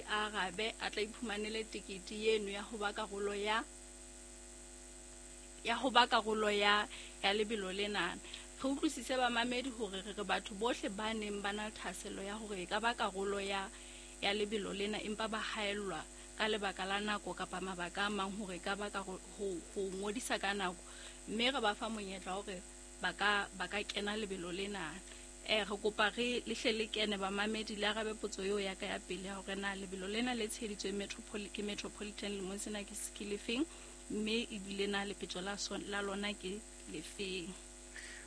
a arabe a tla iphumanele tekete eno ya ho ba karolo ya ya ho ba karolo ya ya lebelo lena. Re utlwisise bamamedi hore re re batho bohle ba neng ba na le thahasello ya hore e ka ba karolo ya ya lebelo lena, empa ba haellwa ka lebaka la nako kapa mabaka a mang hore e ka ba ka ho ngodisa ka nako, mme re ba fa monyetla hore ba ka kena lebelo lena. Re kopa re le hle le kene bamamedi le arabe potso eo ya ka ya pele ya hore na lebelo lena le tsheheditsweng ke Metropolitan lemong sena ke lefeng, mme ebile na lepetjo la lona ke lefeng.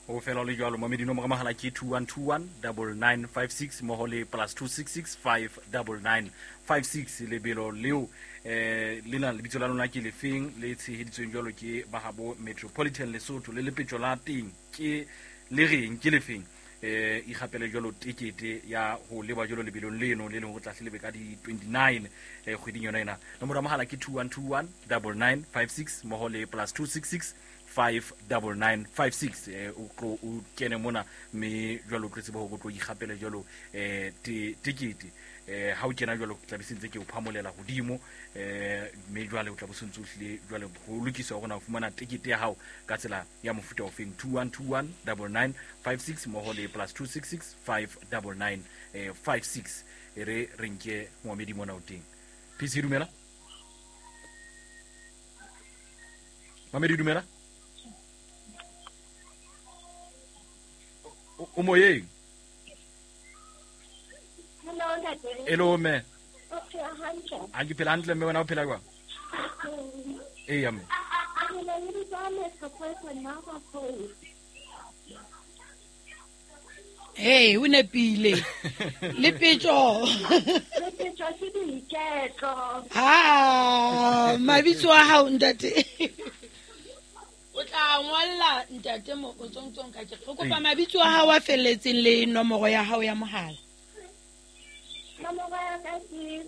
Ho fela le jwalo mamedi nomoro mahala ke 2121 9956 mmoho le +266 59956. Lebelo leo lena lebitso la lona ke lefeng le tsheheditsweng jwalo ke bahabo Metropolitan Lesotho, le lepetjo la teng ke le reng ke lefeng. Ikgapele jwalo tekete ya ho leba jwalo lebelong leno le leng ho tla hlelebe ka di 29 kgweding yona ena. Nomoro ya mohala ke 2121 9956 mmoho le +266 59956. O tlo o kene mona mme jwalo o tlo tseba hore o tlo ikgapele jwalo tekete. Ha o kena jwalo tla be se ntse ke o phamolela hodimo, mme jwale o tla bo se ntse o hlile jwale ho lokiswa hore na o fumana tekete ya hao ka tsela ya mofuta ofeng. 2121 9956 mmoho le +266 59956. E re re nke moamedi mona o teng. PC dumela. Mamedi dumela. O moyeng. Hello ntate. Hello mme. O phela hantle? Ha ke phela hantle mme, wena o phela jwang? Eya mme. Hey, o nepile. Lepetjo. Lepetjo ke boiketlo. Ha, mabitso a hao ntate. O tla ngolla ntate mo o tsongtsong ka ke. Re kopa mabitso a hao a felletseng le nomoro ya hao ya mohala. Nomoro ya ka ke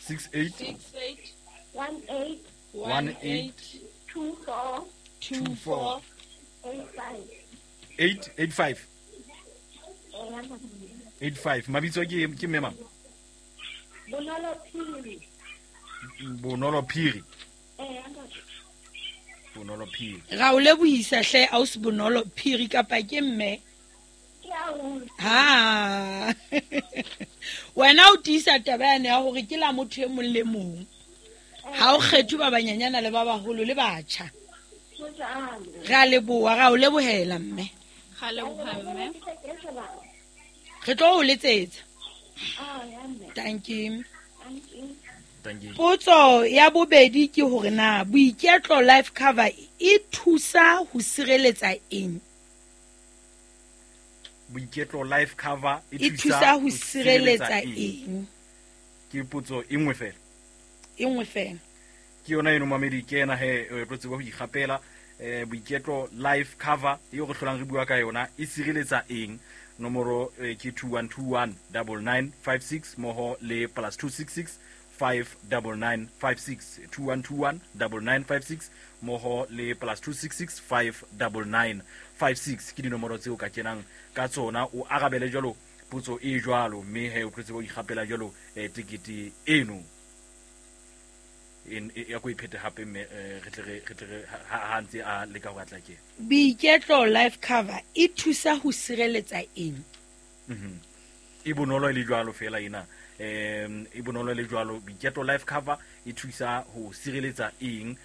68 68 18 18 24 24 85 885 85. Mabitso ke mme mang? Bonolo Phiri. Bonolo Phiri. Bonolo Phiri. Ra o lebohisa hle ausi Bonolo Phiri kapa ke mme? Ha. Wena o tiisa taba yane ya hore ke la motho e mong le mong. Ha o kgethe ba banyanyana le ba baholo le batjha. Re a leboha, ra o lebohela mme. Ra leboha mme. Re tlo o letsetsa. Thank you. Potso ya bobedi ke hore na Boiketlo life cover e thusa ho sireletsa eng? Boiketlo life cover e thusa ho sireletsa eng? Ke potso e nngwe fela. E nngwe fela. Ke yona eno mamedi, ke ena he re tseba ho ikgapela. Boiketlo life cover eo re hlolang re bua ka yona e sireletsa eng? Nomoro ke 2121 9956 mmoho le +266 59956. 2121 9956 mmoho le +266 59956 ke dinomoro tseo ka kenang ka tsona o arabele jwalo potso e jwalo, mme he o tlo tseba ho ikgapela jwalo tekete eno. Ya ko iphete hape mme re tle re ha ntse a leka ho atla ke. Boiketlo life cover e thusa ho sireletsa eng? E bonolo le jwalo fela ena. E bonolo le jwalo Boiketlo life cover e thusa ho sireletsa eng?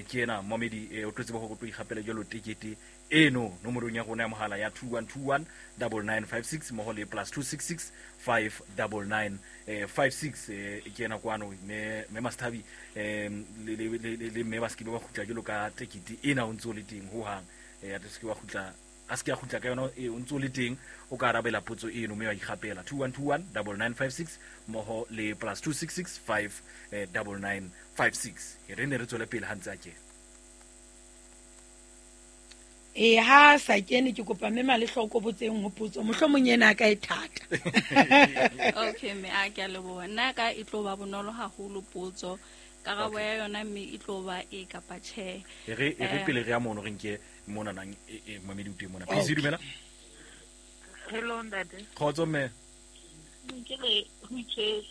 Ke ena momedi o tlo tseba hore o tlo ikgapela jwalo tekete eno nomorong ya rona ya mohala ya 2121 9956 mmoho le +266 59956. Ke ena kwano mme Masthabi le mme ba se ke ba kgutla jwalo ka tekete ena o ntse o le teng ho hang. Ya se ke wa kgutla, a se ke a kgutla ka yona o ntse o le teng, o ka arabela potso eno mme wa ikgapela. 2121 9956 mmoho le +266 59956. Re ne re tswele pele ha ntse a kena. E ha sa kene ke kopa mme Malehloko botseng ho potso mohlomong ena ka e thata. Okay mme a ke a leboha. Nna ka e tlo ba bonolo haholo potso. Karabo ya yona mme e tlo ba e kapa tjhe. E re pele re ya mono re nke mona nang e mamedi o teng mona. Please dumela. Hello ntate. Kgotso mme. Ke le ho itse.